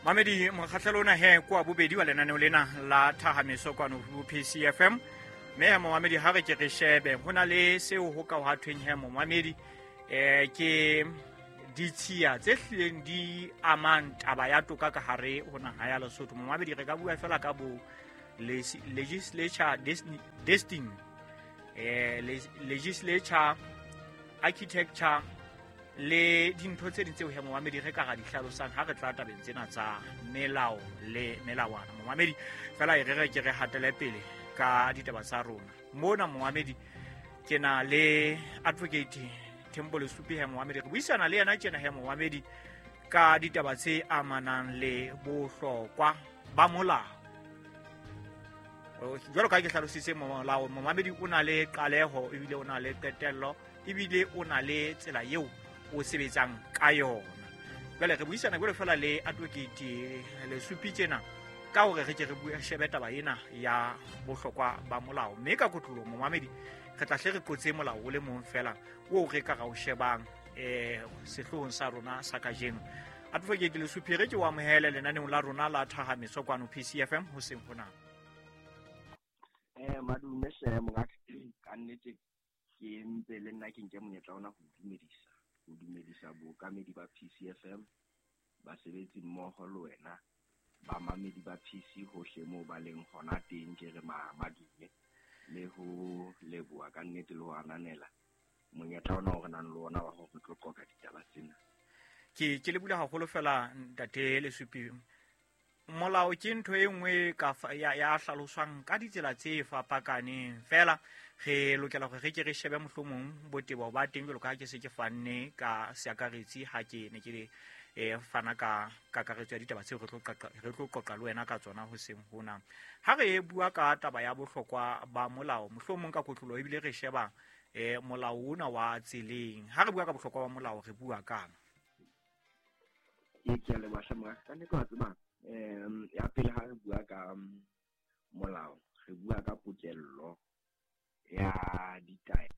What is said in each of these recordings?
Mamedi, mokgahlelo ona he ke wa bobedi wa lenaneo lena la Thahameso kwano ho PCFM. Mme he momamedi, ha re ke re shebe ho na le seo ho ka hwa thweng he momamedi, ke ditshiya tse hlileng di amang taba ya toka ka hare ho naha ya Lesotho. Momamedi, re ka bua fela ka bo legislature destiny, legislature architecture le dintho tse ding tseo he momamedi re ka ra di hlalosang ha re tla tabeng tsena tsa melao le melawana. Momamedi, fela e re re ke re hatele pele ka ditaba tsa rona mona. Momamedi, ke na le Advocate Thembo Lesupi he momamedi, re buisana le yena tjena he momamedi ka ditaba tse amanang le bohlokwa ba molao. Jwalo ka ke hlalositse, molao momamedi o na le qaleho ebile o na le qetello ebile o na le tsela eo o sebetsang ka yona. Jwale re buisana jwalo fela le Advocate Lesupi tjena ka hore re ke re bue shebe taba ena ya bohlokwa ba molao, mme ka kotlolo momamedi re tla hle re qotse molao o le mong fela o re ka ra o shebang sehloohong sa rona sa kajeno. Advocate Lesupi, re ke o amohele lenaneong la rona la Thahameso kwano PCFM hoseng hona. Madume hle mongaka, ka nnete ke ntse le nna ke nke monyetla ona ho dumedisa bookamedi ba PCFM, basebetsi mmoho le wena, bamamedi ba PC hohle moo ba leng hona teng. Ke re madume le ho leboha ka nnete le ho ananela monyetla ona o re nang le ona wa hore re tlo qoqa ditaba tsena. Ke le bula haholo fela ntate Lesupi. Molao ke ntho e nngwe ka ya hlaloswang ka ditsela tse fapakaneng, fela re lokela hore re ke re shebe mohlomong botebo ba teng jwalo ka ha ke se ke fanne ka seakaretsi ha ke ne ke fana ka kakaretso ya ditaba tseo re tlo qoqa le wena ka tsona hoseng hona. Ha re bua ka taba ya bohlokwa ba molao, mohlomong ka kotlolo ebile re sheba molao ona wa tseleng. Ha re bua ka bohlokwa ba molao, re bua kang? Ke a leboha hle mongaka. Ka nnete wa tseba, ya pele ha re bua ka molao, re bua ka pokello ya ditaelo.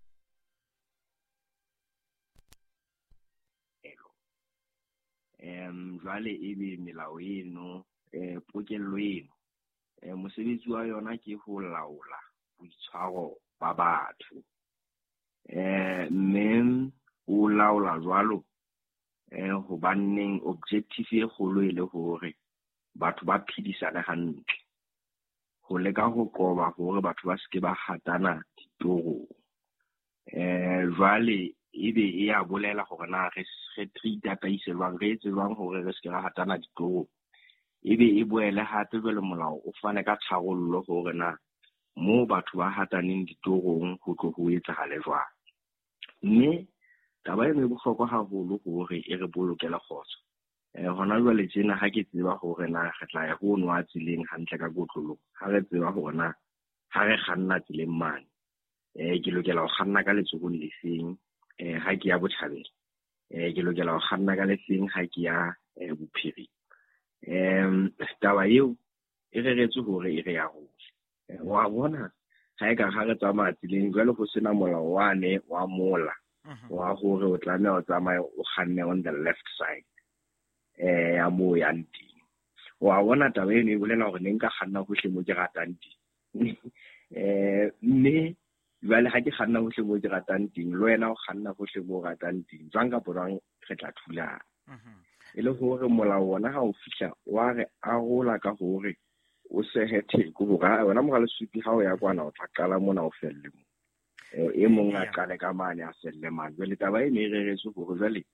Jwale ebe melao eno, pokello eno, mosebetsi wa yona ke ho laola boitshwaro ba batho. Mme o laola jwalo hobaneng objective e kgolo e le hore batho ba phedisane hantle, ho leka ho qoba hore batho ba seke ba hatana ditorong. Jwale ebe e ya bolela hore na re itataise jwang, re etse jwang hore re seke ra hatana ditorong. Ebe e boele hape jwale molao o fane ka tharollo hore na moo batho ba hataneng ditorong ho tlo ho etsahale jwang. Mme taba eno e bohlokwa haholo hore e re bolokele kgotso. Hona jwale tjena ha ke tseba hore na re tla ya ho nwa tseleng hantle ka kotloloho, ha re tseba hore na ha re kganna tseleng mane, ke lokela ho kganna ka letsohong le feng, ha ke ya botjhabela, ke lokela ho kganna ka lefeng ha ke ya bophirima. Taba eo e reretswe hore e re ya rona. Wa bona ha e ka ha re tsamaya tseleng jwale ho sena molao wane wa mola wa hore o tlameha o tsamaye o kganne on the left side ya moo yang teng. Wa bona taba eno e bolela hore ne nka kganna hohle moo ke ratang teng. Mme jwale ha ke kganna hohle moo ke ratang teng, le wena o kganna hohle moo o ratang teng, jwang kapa jwang re tla thulana. E le hore molao ona ha o fihla wa re arola ka hore o sehe theko hore wena mora Lesupi ha o ya kwana o tla qala mona o felle mo. E mong a qale ka mane a felle mane. Jwale taba eno e reretswe hore jwale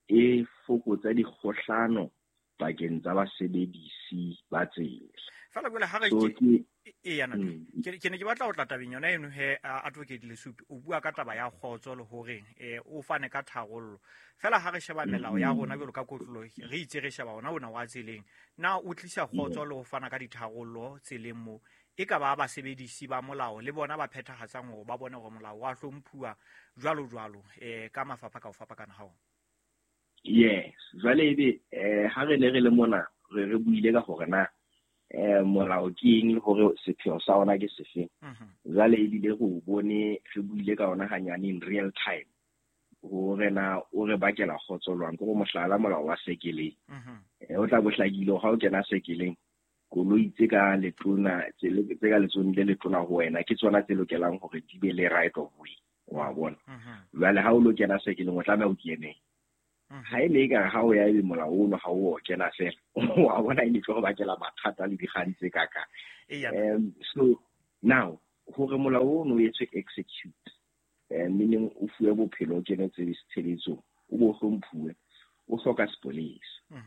e fokotsa dikgohlano pakeng tsa basebedisi ba tsela. Fela jwale ha re ke ne ke batla ho tla tabeng yona eno he Advocate Lesupi, o bua ka taba ya kgotso le hore o fane ka tharollo. Fela ha re sheba melao ya rona jwalo ka kotlolo, re itse re sheba ona wa tseleng, na o tlisa kgotso le ho fana ka ditharollo tseleng mo e ka ba basebedisi ba molao le bona ba phethahatsang hore ba bone hore molao wa hlomphuwa jwalo jwalo ka mafapha ka ho fapakana ha ona? Yes, jwale ebe ha re ne re le mona re buile ka hore na molao ke eng le hore sepheo sa ona ke sefeng. Jwale ebile re bone re buile ka ona hanyane in real time hore na o re bakela kgotso jwang. Ke mohlala molao wa sekeleng. O tla bo hlakile ha o kena sekeleng, koloi tse ka letona tse ka letsong le letona ho wena ke tsona tse lokelang hore di be le right of way, wa bona. Jwale ha o lo kena sekeleng o tlameha o kene. Ha e le ekare ha o ya ebe molao ono ha o kena fela, wa bona, e ne tlo go bakela mathata le dikgang tse kaka. So now hore molao ono o etswe execute, meaning o fuwe bophelo, o kene tshebetsong, o bo hlomphuwe, o hloka sepolesa.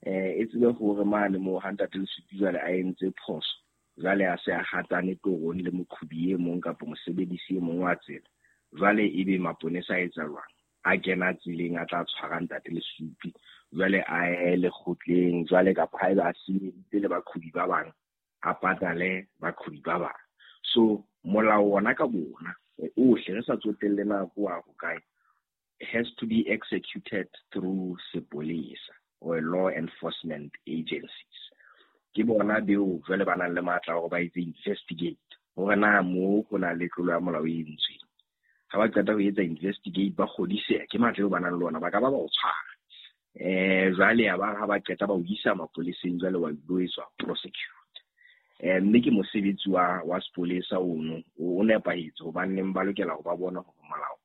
E tsebe hore mane moo ha ntate Lesupi jwale a entse phoso, jwale a se a hatane torong le moqhobi e mong kapa mosebedisi e mong wa tsela, jwale ebe maponesa a etsa jwang? A kena tseleng, a tla tshwara ntate Lesupi, jwale a ye lekgotleng, jwale kapa haeba a senyeditse le baqhobi ba bang, a patale baqhobi ba bang. So molao wona ka bona ohle, re sa tsotelle nako wa ho kae, has to be executed through sepolesa or law enforcement agencies. Ke bona beo jwale ba nang le matla hore ba etse investigate hore na moo ho na le tlolo ya molao e entsweng. Ha ba qeta ho etsa investigate, ba kgodiseha ke matla eo ba nang le ona, ba ka ba ba o tshwara. Jwale ya ba ha ba qeta ba o isa mapoleseng, jwale wa lo etswa prosecute. Mme ke mosebetsi wa sepolesa ono o nepahetse, hobaneng ba lokela ho ba bona hore molao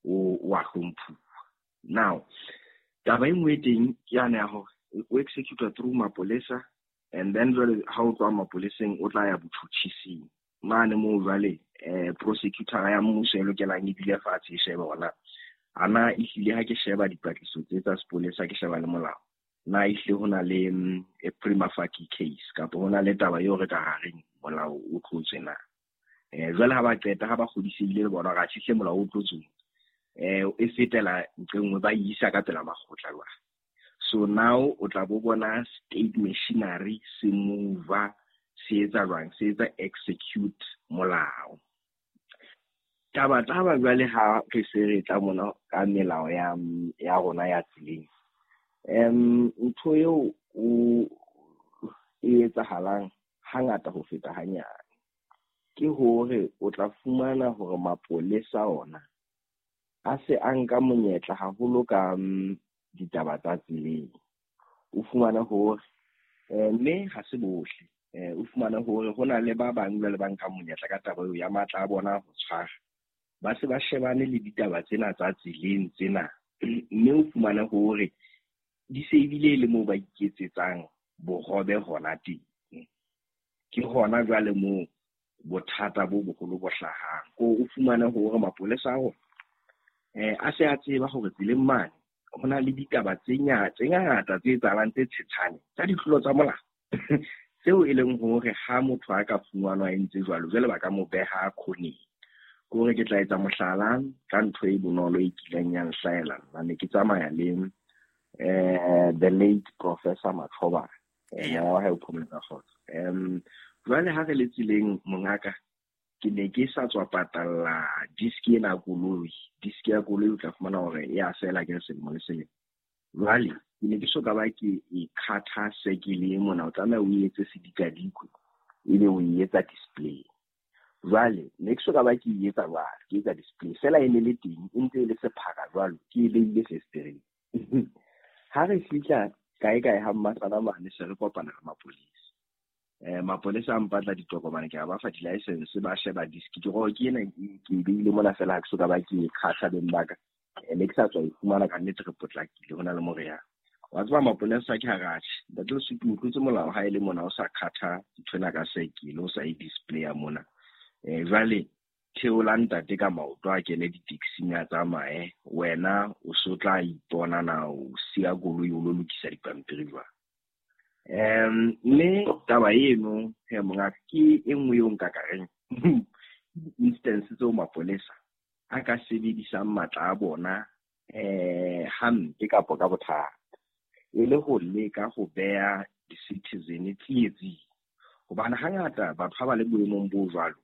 o wa hlomphuwa. Now taba e nngwe e teng ke yane ya hore o execute through mapolesa, and then jwale ha o tloha mapoleseng o tla ya botjhutjhising mane moo jwale prosecutor ya mmuso e lokelang e dule fatshe e shebe hore na ana ehlile ha ke sheba dipatlisiso tse tsa sepolesa, ke sheba le molao, na ehlile ho na le a prima facie case kapa ho na le taba eo re ka hareng molao o tlotswe na. Jwale ha ba qeta, ha ba kgodisehile le bona hore atjhe molao o tlotswe, e fetela nqe nngwe, ba isa ka pela makgotla jwale. So now o tla bo bona state machinery se move, se etsa jwang, se etsa execute molao. Taba jwale ha re se re tla mona ka melao ya rona ya tseleng, ntho eo o e etsahalang hangata ho feta hanyane ke hore o tla fumana hore mapolesa ona a se a nka monyetla haholo ka ditaba tsa tseleng. O fumana hore mme ha se bohle, o fumana hore ho na le ba bang jwale ba nkang monyetla ka taba eo ya matla a bona ho tshwara, ba se ba shebane le ditaba tsena tsa tseleng tsena, mme o fumana hore di se ebile le moo ba iketsetsang bohobe hona teng. Ke hona jwale moo bothata bo boholo bo hlahang. Ko o fumane hore mapolesa a rona a se a tseba hore tseleng mane ho na le ditaba tse ngata tse etsahalang tse tshetshane tsa ditlolo tsa molao, tseo e leng hore ha motho a ka fumanwa a entse jwalo, jwale ba ka mo beha khoneng. Ke hore ke tla etsa mohlala ka ntho e bonolo e kileng ya nhlahela nna. Ne ke tsamaya le the late Professor Machoba, moya wa hae o phomole ka kgotso. Jwale ha re le tseleng mongaka, ke ne ke sa tswa patalla disk ena ya koloi. Disk ya koloi o tla fumana hore e a fela ke selemo le selemo. Jwale ke ne ke so ka ba ke e khatha sekele mona, o tlameha o etse sedikadikwe ebe o e etsa display. Jwale ne ke so ka ba ke e etsa jwalo, ke etsa display fela e ne le teng, e ntse e le sephara jwalo, ke e beile festereng. Ha re fihla kae kae ha mmasana mane, se re kopana le mapolesa. Mapolesa a mpatla ditokomane, ke a ba fa di-license, ba sheba disk, ke re ke ena ke e beile mona fela, ha ke so ka ba ke e kgatha beng ba ka. Ne ke sa tswa e fumana ka nnete, re potlakile ho na le more yang. Wa tseba mapolesa ke hare atjhe, ntate Lesupi o tlotse molao ha e le mona o sa kgatha nthwena ka sekele, o sa e display-a mona. Jwale theola ntate ka maoto a kene di-taxing a tsamaye, wena o so tla ipona na o siya koloi o lo lokisa dipampiri jwang. Mme taba eno he mongaka ke e nngwe eo nka ka reng instance tseo mapolesa a ka sebedisang matla a bona hampe kapa ka bothata, e le ho leka ho beha di-citizen tsietsing. Hobane hangata batho ha ba le boemong bo jwalo,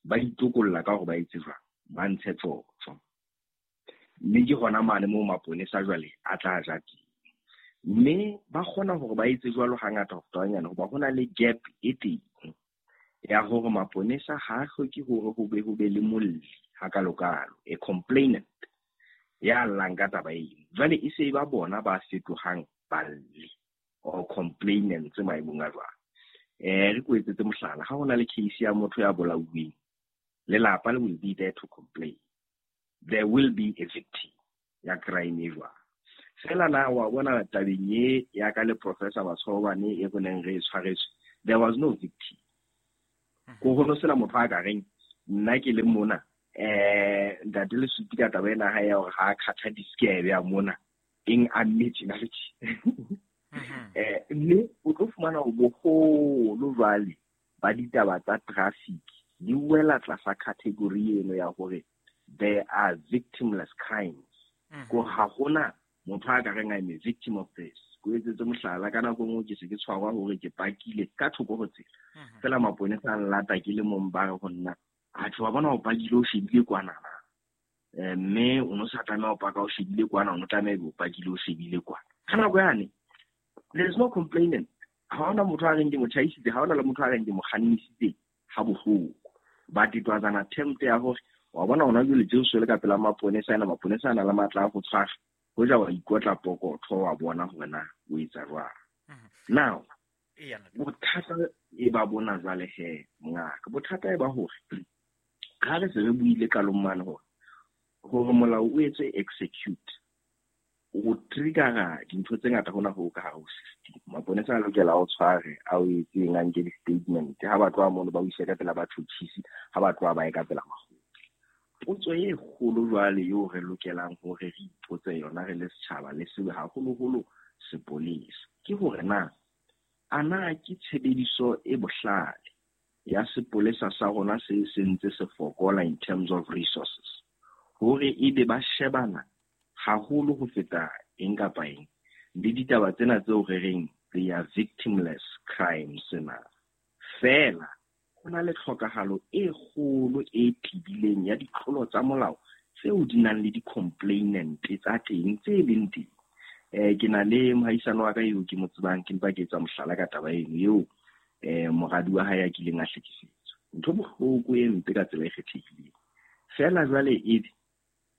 ba itokolla ka hore ba etse jwang, ba ntshe tjotjo. Mme ke hona mane moo maponesa jwale a tla ja teng. Mme ba kgona hore ba etse jwalo hangata ho feta hanyane, hoba ho na le gap e teng ya hore maponesa ha a hloke hore ho be le molli hakalokalo, a complainant ya llang ka taba eno. Jwale e se ba bona ba fetohang balli. or complainants maemong a jwang. Re ko etsetse mohlala, ha hona le case ya motho ya bolauweng, lelapa le will be there to complain. There will be a victim ya crime e jwang. Fela na wa bona tabeng e ya ka le Professor Matshobane e boneng re tshwaretswe, there was no victim. Ko ho no sena motho a ka reng nna ke le mona ntate Lesupi ka taba ena ha ya hore ha khatha diskebe ya mona eng a mme tjena le tjena. Mme o tlo fumana hore boholo jwale ba ditaba tsa traffic di wela tlasa category eno ya hore there are victimless crimes. Ko ha hona motho a ka reng I'm a victim of this. Ko etsetse mohlala, ka nako nngwe ke se ke tshwarwa hore ke pakile ka thoko ho tsela. Fela maponesa a nlata ke le mong, ba re ho nna, atjhe wa bona o pakile o shebile kwana na. Mme o no sa tlameha ho paka o shebile kwana, o no tlameha o pakile o shebile kwana. Ka nako yane, there is no complainant. Ha hona motho a reng ke mo tjhaisitse, ha hona le motho a reng ke mo kgannisitse ha bohloko. But it was an attempt ya hore wa bona hona jwale tje o swele ka pela maponesa ena, maponesa a na le matla a ho tshwara. Hoja wa ikotla pokotho wa bona hore na o etsa jwang. Now, bothata e ba bona jwale he, mongaka. Bothata e ba hore ha re se re buile qalong mane hore molao o etse execute, o triggera dintho tse ngata hona ho ka hare ho system. Maponesa a lokela o tshware, a o etseng, a nke di-statement. Ha ba tloha mono ba o ise ka pela batjhutjhisi, ha ba tloha ba ye ka pela makgotla. Potso e kgolo jwale eo re lokelang hore re ipotse yona re le setjhaba le sebe haholoholo sepolesa, ke hore na a na ke tshebediso e bohlale ya sepolesa sa rona se sentse se fokola in terms of resources, hore ebe ba shebana haholo ho feta eng kapa eng le ditaba tsena tseo re reng they are victimless crimes na. Fela ho na le tlhokahalo e kgolo e tibileng ya ditlolo tsa molao tseo di nang le di-complainant tsa teng tse leng teng. Ke na le mohaisane wa ka eo ke mo tsebang, ke mpa ke etsa mohlala ka taba eno eo moradi wa hae a kileng a hlekefetswa. Ntho bohloko e mpe ka tsela e kgethehileng. Fela jwale ebe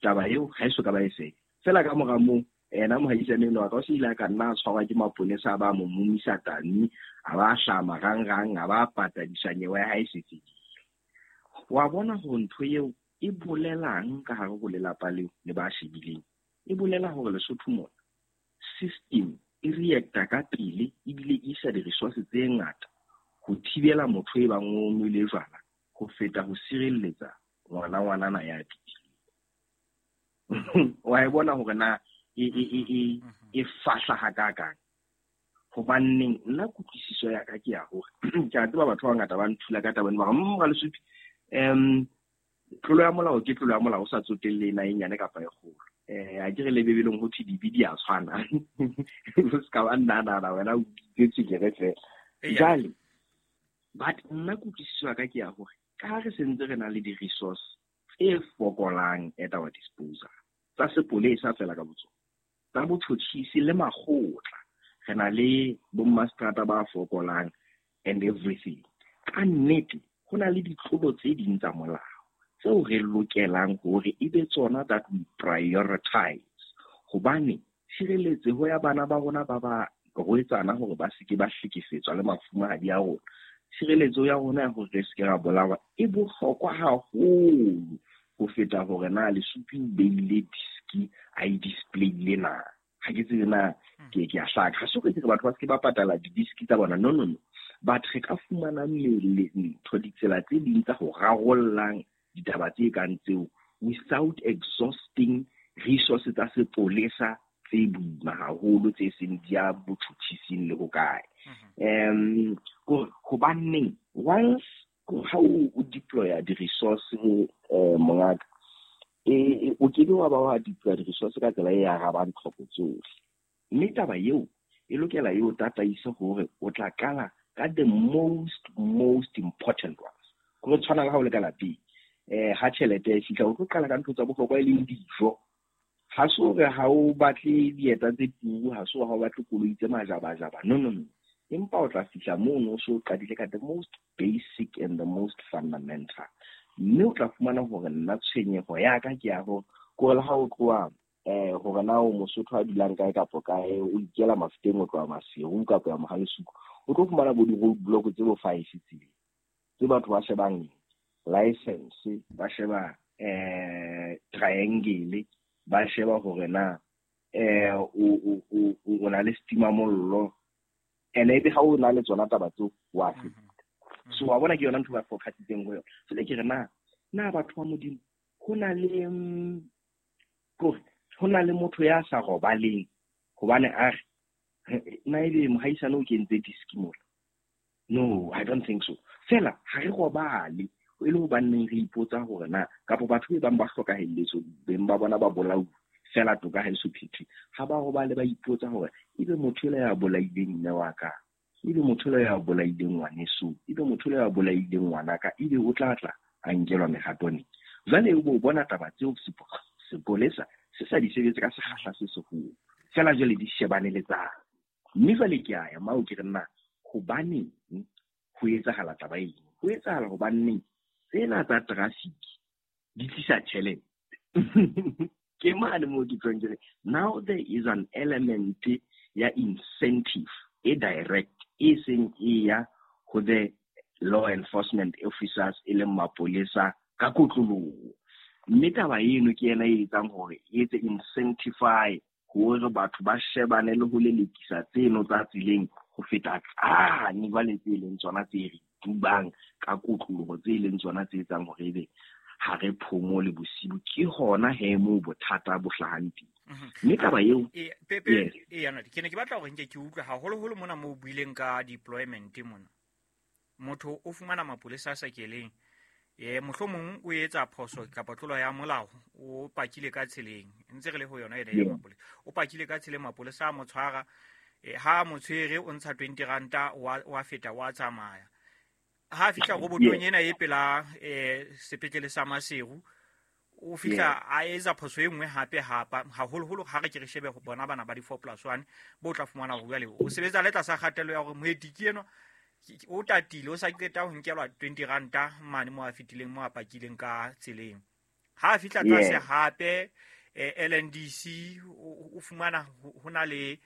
taba eo ha e so ka ba e fela. Fela ka mora moo, ena mohaisane enwa wa ka o se ile a ka nna a tshwarwa ke maponesa, a ba mo momisa tani, a ba hlaha marangrang, a ba patadisa nyewe ya hae e se fedile. Wa bona hore ntho eo e bolelang ka hare ho lelapa leo le ba shebileng. E bolela hore Lesotho mona system e reacta ka pele ebile e isa di-resources tse ngata ho thibela motho e bang o nwele jwala ho feta ho sireletsa ngwana ngwanana ya pitileng. Wa e bona hore na e fahla hakakang. Hobaneng nna kutlwisiso ya ka ke ya hore ke a tseba batho ba bangata ba nthula ka taba ena, ba re, Ralesupi, tlolo ya molao ke tlolo ya molao, o sa tsotelle na e nyane kapa e kgolo. A ke re le Bibeleng ho thwe dibe di a tshwana. O ska ba nna wena o bitse tswekere fela. Jwale, but nna kutlwisiso ya ka ke ya hore ka ha re sentse re na le di-resource tse fokolang at our disposal, tsa sepolesa fela ka botsona, tsa botjhotjhisi le makgotla, re na le bommaseterata ba fokolang and everything. Ka nnete, ho na le ditlolo tse ding tsa molao tseo re lokelang hore e be tsona that we prioritize. Hobane tshireletseho ya bana ba rona ba ba rwetsana hore ba se ke ba hlekefetswa le mafumahadi a rona, tshireletso ya rona ya hore re se ke ra bolawa e bohlokwa haholo ho feta hore na Lesupi o beile diski a e displayile na. Ha ke tsebe na ke a hlaka. Ha se hore ke re batho ba se ke ba patala di-diski tsa bona, no, no, no. But re ka fumana mmele ntho ditsela tse ding tsa ho rarollang ditaba tse kang tseo without exhausting resources tsa sepolesa tse boima haholo tse seng di ya botjhutjhising le hokae. Hobaneng once ha o deploya di-resource mongaka, o ke ke wa ba wa deploya di-resource ka tsela e arabang tlhoko tsohle. Mme taba eo e lokela e o tataise hore o tla qala ka the most important ones. Ho tshwana le ha o le ka lapeng, ha tjhelete e fihla, o tlo qala ka ntho tsa bohlokwa e leng dijo. Ha se hore ha o batle dieta tse turu, ha se hore ha o batle koloi tse majabajaba. No, no, no. Empa o tla fihla mono o so qadile ka the most basic and the most fundamental. Mme o tla fumana hore nna tshwenyeho ya ka ke ya hore ko le ha o tloha Hore na o Mosotho a dulang kae kapa kae, o ikela Mafeteng o tloha Maseru kapa ya Mohalesuku, o tlo fumana bo di-road block tse bo 5 tseleng tse batho ba shebang license, ba sheba triangle, ba sheba hore na o na le setimamollo, ene ebe ha o na le tsona taba tseo wa feta. So wa bona ke yona ntho ba focusitseng ho yona. Jwale ke re na batho ba Modimo, ho na le kore ho na le motho ya sa robaleng hobane a re na ebe mohaisane o kentse diski mola. No, I don't think so. Fela ha re robale e le hobaneng re ipotsa hore na kapa batho be bang ba hlokahelletswe beng ba bona ba bolauwe fela toka ha eso phethwe, ha ba robale ba ipotsa hore ebe motho ela ya bolaileng mme wa ka, ebe motho ela ya bolaileng ngwaneso, ebe motho ela ya bolaileng ngwanaka, ebe o tla tla a nkelwa mehato neng. Jwale o bo bona taba tseo sepolesa se sa di sebetse ka sekgahla se seholo, fela jwale di shebane le tsane. Mme jwale ke a ya mao ke re nna hobaneng ho etsahala taba eno? Ho etsahala hobaneng tsena tsa traffic di tlisa tjhelete. Ke mane moo ke tlong ke re now there is an element ya incentive e direct e seng e ya ho the law enforcement officers e leng mapolesa ka kotloloho. Mme taba eno ke yena e etsang hore e etse incentify hore batho ba shebane le ho lelekisa tseno tsa tseleng ho feta tsane jwale tse leng tsona tse re tubang ka kotloloho, tse leng tsona tse etsang hore ebe ha re phomole bosiu. Ke hona he moo bothata bo hlahang teng. Mme taba eo, Pepe, ke ne ke batla hore nke ke utlwe haholoholo mona moo o buileng ka deployment mona. Motho o fumana mapolesa a sa keleng, mohlomong o etsa phoso kapa tlolo ya molao, o pakile ka tseleng, ntse re le ho yona ena ya mapolesa, o pakile ka tseleng, mapolesa a mo tshwara, ha mo tshwere o ntsha 20 ranta, wa feta wa tsamaya. Ha fihla robotong ena e pela sepetlele sa Maseru, o fihla a etsa phoso e nngwe hape hapa, haholoholo ha re ke re shebe ho bona bana ba di 4+1 bo tla fumana hore jwale o sebetsa le tlasa kgatello ya hore moeti ke enwa o tatile, o sa qeta ho nkelwa 20 ranta mane mo a fetileng, mo a pakileng ka tseleng. Ha a fihla tlase hape LNDC o fumana ho na le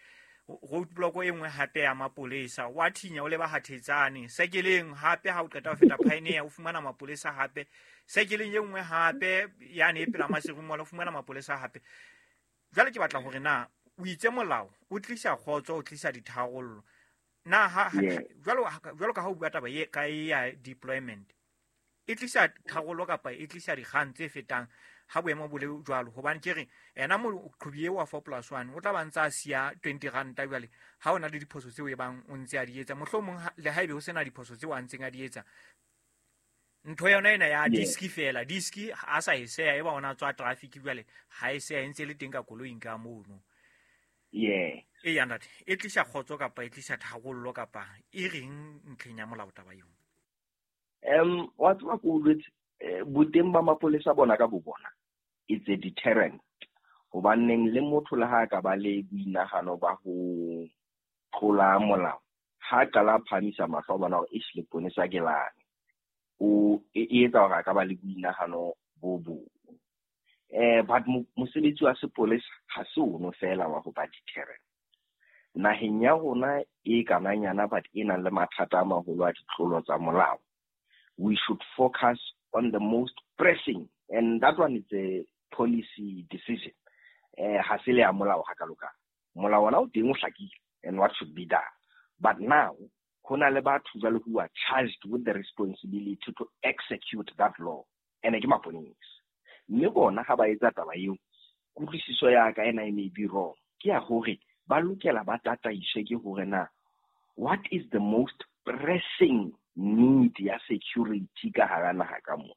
roadblock e nngwe hape ya mapolesa, wa thinya o leba Hathetsane. Sekeleng hape ha o qeta ho feta Pioneer o fumana mapolesa hape. Sekeleng e nngwe hape yane e pela Maseru mola o fumana mapolesa hape. Jwale ke batla hore na o itse molao o tlisa kgotso, o tlisa ditharollo. Na ha jwalo ka ha o bua taba e ka ya deployment, e tlisa tharollo kapa e tlisa dikgang tse fetang ha boemo bo le jwalo? Hobane ke re ena moqhobi eo wa 4+1 o tla ba ntsa a siya 20 ranta jwale ha o na le diphoso tseo e bang o ntse a di etsa, mohlomong le haebe ho sena diphoso tseo a ntseng a di etsa, ntho yona ena ya diski fela, diski a sa e seya e ba ona tswa traffic jwale ha e seya e ntse le teng ka koloing ka mono. E ya ntate, e tlisa kgotso kapa e tlisa tharollo kapa e reng ntlheng ya molao taba eo? Wa tseba ko bolwetse, boteng ba mapolesa bona ka bo bona it's a deterrent. Hobaneng le motho le ha ka ba le boinahano ba ho tlola molao, ha qala a phahamisa mahlo a bona hore eish leponesa ke lane, o e etsa hore a ka ba le boinahano bo bong. But mosebetsi wa sepolesa ha se ono fela wa ho ba deterrent. Naheng ya rona e kananyana but e nang le mathata a maholo a ditlolo tsa molao, we should focus on the most pressing, and that one is a policy decision. Ha se le ya molao ha ka loka. Molao ona o teng o hlakile and what should be done. But now, ho na le batho jwale who are charged with the responsibility to execute that law. And ke maponesa. Mme bona ha ba etsa taba eo, kutlwisiso ya ka ena e may be wrong. Ke ya hore ba lokela ba tataiswe ke hore na what is the most pressing need ya security ka hara naha ka mona?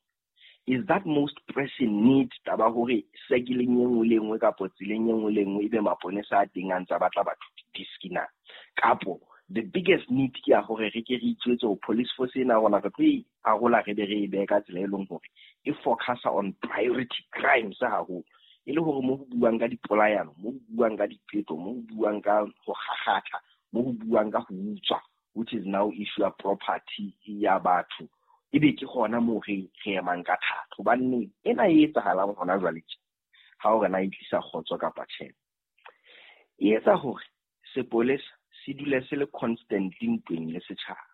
Is that most pressing need taba hore sekeleng e nngwe le nngwe kapo tseleng e nngwe le nngwe ebe maponesa a teng a ntsa batla batho diski na? Kapo the biggest need ke ya hore re ke re itjwetse hore police force ena rona re tlo e arola re be re e behe ka tsela e leng hore e focusa on priority crimes haholo, e le hore mo ho buang ka dipolayano, mo ho buang ka dipeto, mo ho buang ka ho kgakgatha, mo ho buang ka ho utswa, which is now issue ya property ya batho, ebe ke hona moo re emang ka thata. Hobane ena e etsahalang hona jwale tje, Ha hore na e tlisa kgotso kapa tjhe. E etsa hore sepolesa se dule se le constantly ntweng le setjhaba.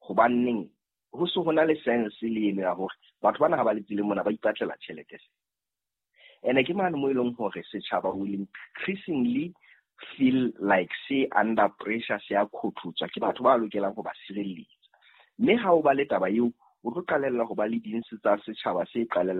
Hobaneng ho se ho na le sense le eno ya hore batho bana ha ba le tseleng mona ba ipatlela tjhelete. Ene ke mane mo e leng hore setjhaba will increasingly feel like se under pressure, se a khothotswa ke batho ba lokelang ho ba sireletsa. Mme ha o ba le taba eo, o tlo qalella ho ba le dintsi tsa setjhaba se qalella.